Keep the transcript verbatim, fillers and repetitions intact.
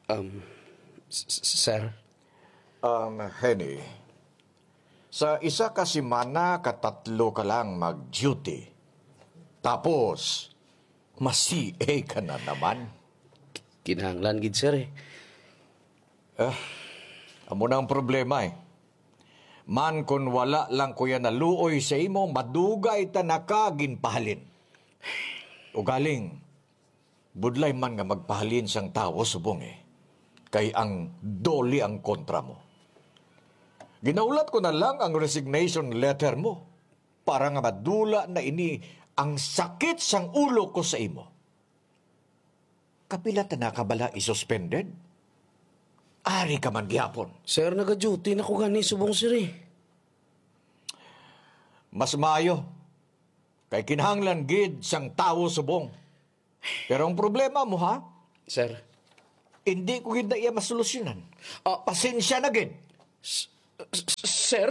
Um, s- s- sir? Um, Henny, sa isa ka semana, katatlo ka lang mag-duty. Tapos, ma-C A ka na naman. Kinahanglan gid, sir, eh. Ah, amo na ang problema, eh. Man, kun wala lang ko yan naluoy sa imo, madugay ta na ka ginpahalin. Ugaling, budlay man nga magpahalin sang tawo subong, eh. Kay ang DOLE ang kontra mo. Ginaulat ko na lang ang resignation letter mo para nga madula na ini ang sakit sang ulo ko sa imo. Kapila ta na ka bala i-suspended? Ari ka man gihapon. Sir, naga-duty na ko gani subong, sir, eh. Mas maayo. Kay kinahanglan gid sang tawo subong. Pero ang problema mo, ha? Sir. Hindi ko gid na iya masolusyonan. Ah. Pasensya na gid. S- s- sir?